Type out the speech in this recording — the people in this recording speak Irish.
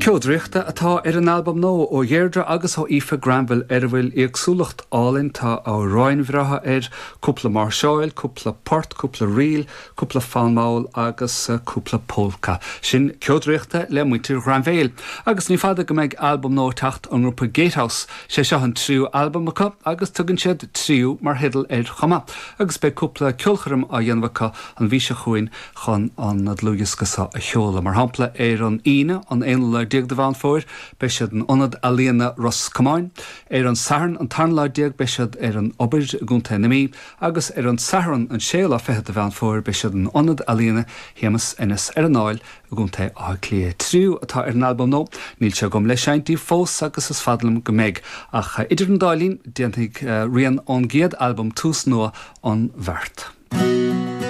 Ceol draíochta atá ar an albam nua ó Dheirdre agus ó Aoife Granville ar a bhfuil éagsúlacht álainn, tá amhráin bhreátha air, cúpla máirseáil, cúpla port, cúpla ríl, cúpla fonn mall agus cúpla pólca. Sin Ceol Draíochta le muintir Ghrainbhéil. Agus ní fada go mbeidh albam nua ag teacht ón ngrúpa Gatehouse. Sé seo an tríú albam acu agus tugann siad Tríú mar theideal air chomh maith. Agus beidh cúpla ceolchoirm á dhéanamh acu an mhí seo chugainn chun an dlúthdhiosca seo a sheoladh. Mar shampla, ar an Aoine, an aonú lá déag de Mheán Fómhair, beidh siad in Ionad Ealaíona Ros Comáin. Ar an Satharn, an tarna lá déag, beidh siad ar an Obair i gContae na Mí agus ar an Satharn, an séú lá fichead de Mheán Fómhair, beidh siad in Ionad Ealaíona Shéamus Ennis ar an Fháil i gContae Átha Cliath. Tríú atá ar an albam nua. Níl sé agam le seinnt daoibh fós agus is fada liom go mbeidh. Ach idir an dá linn, déanfaidh rian ón gcéad albam Tús Nua an bheart.